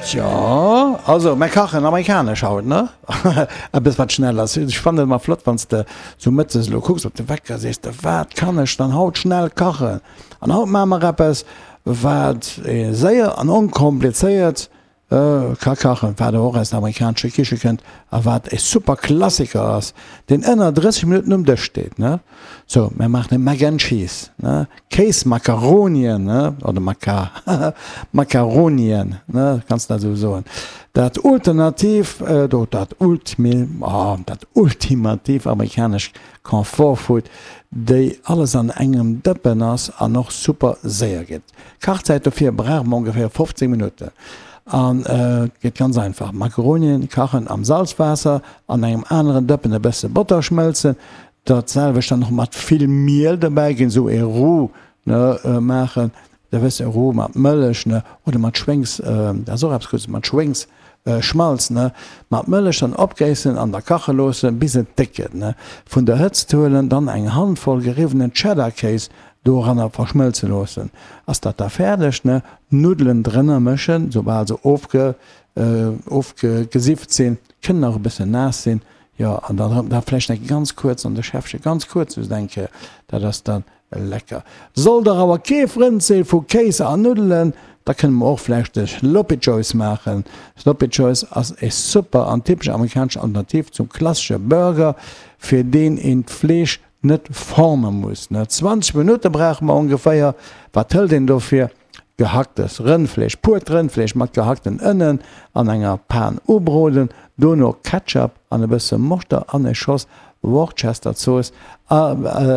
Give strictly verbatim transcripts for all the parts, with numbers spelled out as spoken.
Tjo, also mir kachen amerikanesch haut, ne? Eppes wat schnell ass. Ech fannen et ëmmer flott, wann s de sou mëttes elo kucks op de Wecker, sees de, wat kann ech dann haut schnell kachen? An haut maache mer eppes, wat ee séier an onkomplizéiert ka kachen, wat och aus der amerikanescher Kiche kënnt a wat e super Klassiker ass, deen ënner drësseg Minutten um Dësch steet, ne? Sou, mir maachen e Mac and Cheese, ne? Kéismakaronien, ne? Oder Maka, Makaronien, ne? Kanns dat esou soen. Dat ulternativ, do, dat ultmi, oh, dat ultimativ amerikanesch Comfort Food, déi alles an engem Dëppen ass an och super séier geet. Kachzäit dofir brauche mer ongeféier fofzéng Minutten an et geet ganz einfach, Makaronien kachen am Salzwaasser, an engem aneren Dëppen e bësse Botter schmëlzen, dat selwecht dann och mat vill Miel dobäi ginn, esou ee Roux, ne, maachen, da wëss e Roux mat Mëllech, ne, oder mat Schwéngs, dat ass och eppes Guddes, mat Schwéngs Schmalz, ne, mat Mëllech dann opgéissen an da kache loossen, bis et déck gëtt, ne. Vun der Hëtzt huelen, dann eng Handvoll geriwwenen Cheddar-Kéis doranner verschmëlze loossen. Ass dat da fäerdeg, ne, d'Nuddelen drënner mëschen, soubal se ofge ofgesifft sinn, kënnen nach e bëssen naass sinn, jo, an dann erëm da vläicht eng ganz kuerz an de Schäffche, ganz kuerz just eng Kéier, dat ass dann Lecker. Sollt der awer kee Frënd si vu Kéis a Nuddelen, da kënne mer och vläicht de Sloppy Joes maachen. Sloppy Joes ass e super an typesch amerikanesch Alternativ zum klassesche Burger, fir deen een d'Fleesch net forme muss. zwanzeg Minutte brauche mer ongeféier. Wat hëlt een dofir? Gehacktes Rëndfleesch, puert Rëndfleesch mat gehackten Ënnen an enger Pan ubroden, dono Ketchup an e bësse Moschter an e Schoss Worcesterzooss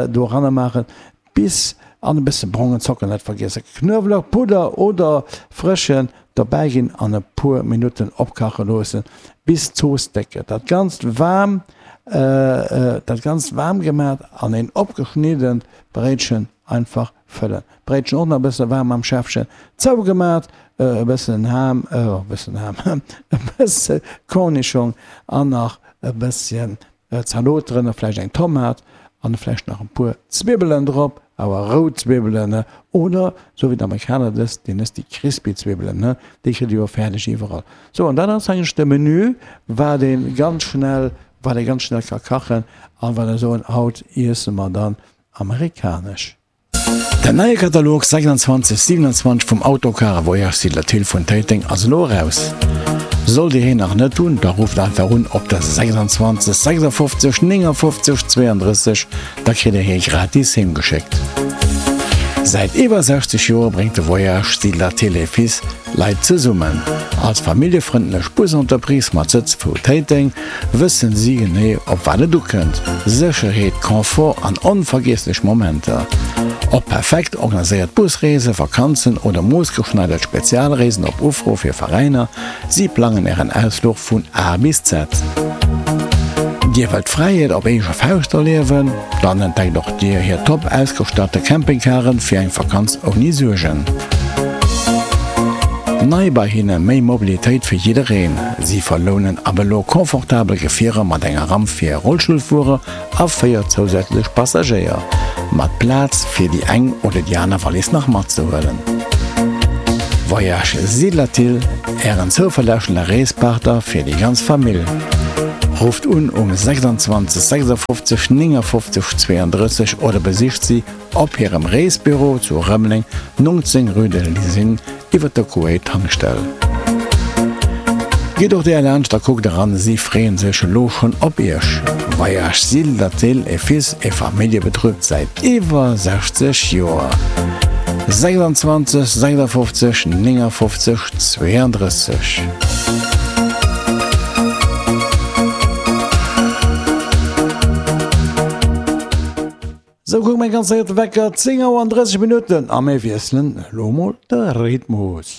doranner maachen, bis an e bësse brongen Zocker net vergiessen, Knuewelek Pudder oder frëschen dobäi ginn an e puer Minutten opkache loossen, bis d'Zooss déck gëtt. Dat Ganzt waarm dat Ganzt waarm gemat an een opgeschniddent Bréitchen einfach fëllen. D'Bréitchen och nach e bësse waarm am Schäffchen zougemat, e bëssen Ham, e bëssen Ham, e bësse Cornischong an nach e bësschen Zalot drënner, vläicht eng Tomat an vläicht nach e puer Zwibbelen drop, awer rout Zwibbelen, ne, oder sou wéi d'Amerikaner dës, déi nës déi crispy Zwibbelen, ne, déi kritt dir jo fäerdeg iwwerall. Sou, an dat ass eigentlech de Menü, wat ee ganz schnell, wat ee ganz schnell ka kachen an wat ech soen, haut iesse mer dann amerikanesch. Den neie Katalog sechsundzwanzeg siewenundzwanzeg vum Autocar a Voyage Siedler Thill vun Téiteng ass elo eraus. Sollt Dir heen nach net hunn, da rufft einfach un op der sechsundzwanzeg sechsundfofzeg néngundfofzeg zweiunddrësseg, da kritt Dir hee gratis heem geschéckt. Säit iwwer sechzeg Joer bréngt de Voyage Siedler Thill et Fils Leit zesummen. Als familljefrëndlech Busentreprise mat Sëtz vu Téiteng wëssen si genee op wat et ukënnt, Sécherheet, Confort an onvergiesslech Momenter. Ob perfekt organiséiert Busreesen, Vakanzen oder moossgeschneidert Spezialreesen op Ufro fir Veräiner, si plangen Ären Ausfluch vun A bis Z. Dir wëllt Fräiheet op eege Fauscht erliewen? Dann entdeckt och Dir hir top ausgestatte Campingcaren fir eng Vakanz ouni Suergen. Nei bei hinne, méi Mobilitéit fir jiddereen. Si verlounen ab elo confortabel Gefierer mat enger Ramp fir Rollstullfuerer a véier zousätzlech Passagéier, mat Plaz fir déi eng oder déi aner Wallis nach matzehuelen. Voyage Siedlerthill, Ären zouverlässege Reespartner fir déi ganz Famill. Rufft un um sechsundzwanzeg sechsundfofzeg néngundfofzeg zweiunddrësseg oder besicht si op hirem Reesbüro zu Rëmeleng, neunzéng rue de l'Usine, iwwer der Kuwait-Tankstell. Gitt och där laanscht a kuckt eran, si freeën sech elo schonn op iech. Voyage Sill-Lathill et Fils e Familljebetrib säit iwwer sechzeg Joer. sechsundzwanzeg sechsundfofzeg néngundfofzeg zweiunddrësseg. Sou, kuck meng ganz séier de Wecker, zéng Auer an drësseg Minutten a mir wiesselen elo mol de Rhythmus.